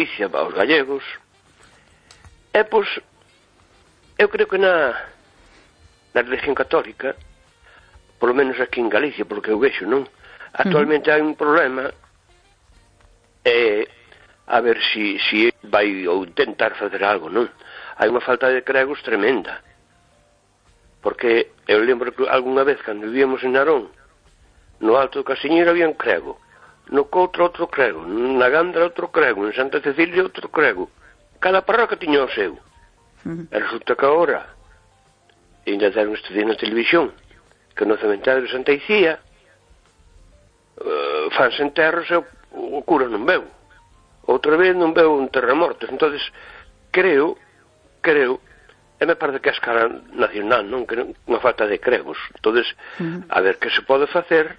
Galicia, aos gallegos. E, pois, eu creo que na religión católica, polo menos aquí en Galicia, porque eu vexo, non? Actualmente hai un problema, a ver se vai ou intentar facer algo, non? Hai unha falta de cregos tremenda. Porque eu lembro que algunha vez, cando vivíamos en Narón, no Alto do Casiñeiro había un crego, no Coutro outro crego, na Gandra outro crego, en Santa Cecilia outro crego. Cada parroquia tiña o seu. E resulta que agora, ainda deron este día na televisión, que no cementerio de Santa Icía fanse enterros e o cura non veu. Outra vez non veu un terremotos. Entonces creo, e me parece que a escala nacional, non? Que unha falta de cregos. Entonces, a ver que se pode facer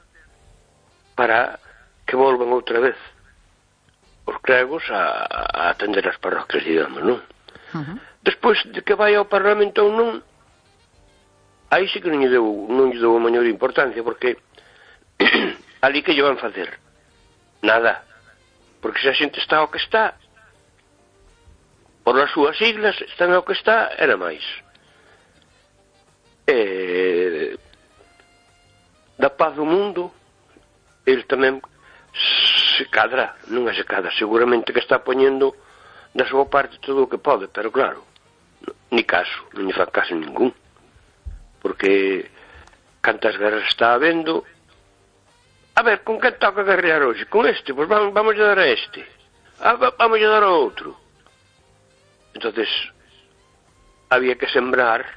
para que volvan outra vez os cregos a atender as parroquias, digamos, non? Despois de que vai ao Parlamento ou non, aí sí que non lle dou a maior importancia, porque ali que lle van facer? Nada. Porque se a xente está ao que está, por as súas siglas, están ao que está, era máis. Da paz do mundo, ele tamén se cadra, non é se cadra, seguramente que está poñendo da súa parte todo o que pode, pero claro, ni caso, non lle fa caso ningún, porque cantas guerras está habendo. A ver, con que toca guerrear hoxe? Con este? Pois vamos a dar a este. Vamos a dar a outro. Entonces había que sembrar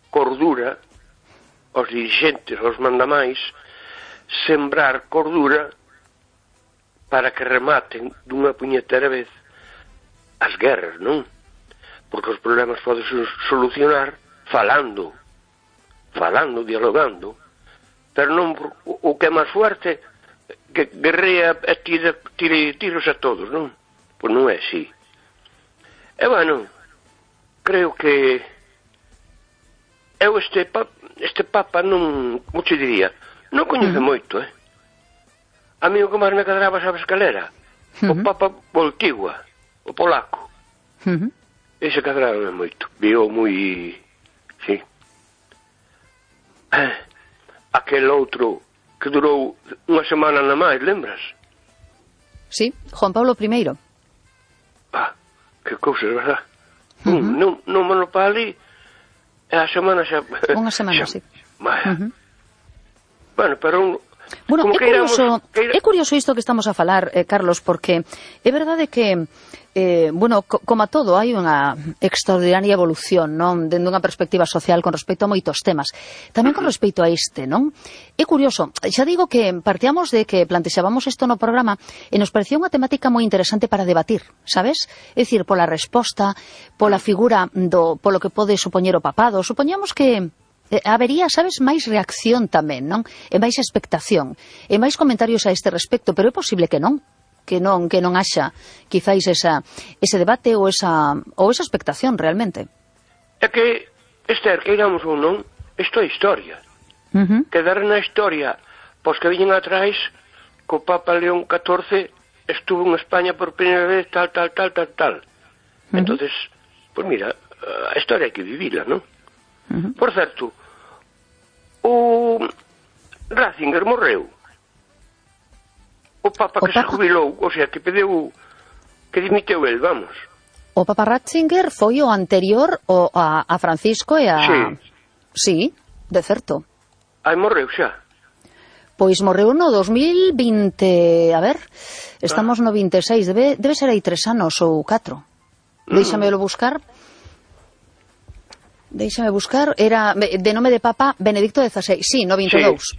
cordura aos dirigentes, aos mandamais, sembrar cordura para que rematen dunha puñetera vez as guerras, non? Porque os problemas poden solucionar falando, dialogando, pero non o que é máis fuerte que guerrea e tire tiros a todos, non? Pois non é así. E bueno, creo que eu este Papa non, como te diría, non coñece moito, A mí o que máis me cadraba, sabes cal era? O Papa Voltigua, o polaco. Ese cadraba moito, viu moi, sí. Aquel outro que durou unha semana na máis, lembras? Sí, Juan Pablo I. Que cousas, verdad? Non monopali e a semana xa... Unha semana, sí. Bueno, pero... Bueno, é curioso isto que estamos a falar, Carlos, porque é verdade que, bueno, como a todo, hai unha extraordinaria evolución, non? Dende unha perspectiva social con respecto a moitos temas. Tamén con respecto a este, non? É curioso, xa digo que partíamos de que plantexábamos isto no programa e nos parecía unha temática moi interesante para debatir, sabes? É dicir, pola resposta, pola figura polo que pode supoñer o papado. Supoñamos que habería, sabes, máis reacción tamén, non? E máis expectación, e máis comentarios a este respecto, pero é posible que non haxa quizáis ese debate ou esa expectación realmente. É que, Esther, que iramos ou non, isto é historia. Quedar na historia, pois que viñen atrás, co Papa León XIV estuvo en España por primeira vez, tal. Entonces, pois mira, a historia hai que vivila, non? Por certo, o Ratzinger morreu. O Papa que se jubilou, o sea, que pediu, que dimiteu el, vamos. O Papa Ratzinger foi o anterior a Francisco e a... Sí, de certo. Morreu xa. Pois morreu no 2020, a ver, estamos no 26, debe ser aí 3 anos ou 4. Déixamelo buscar. Era de nome de Papa Benedicto XVI, sí, no 22.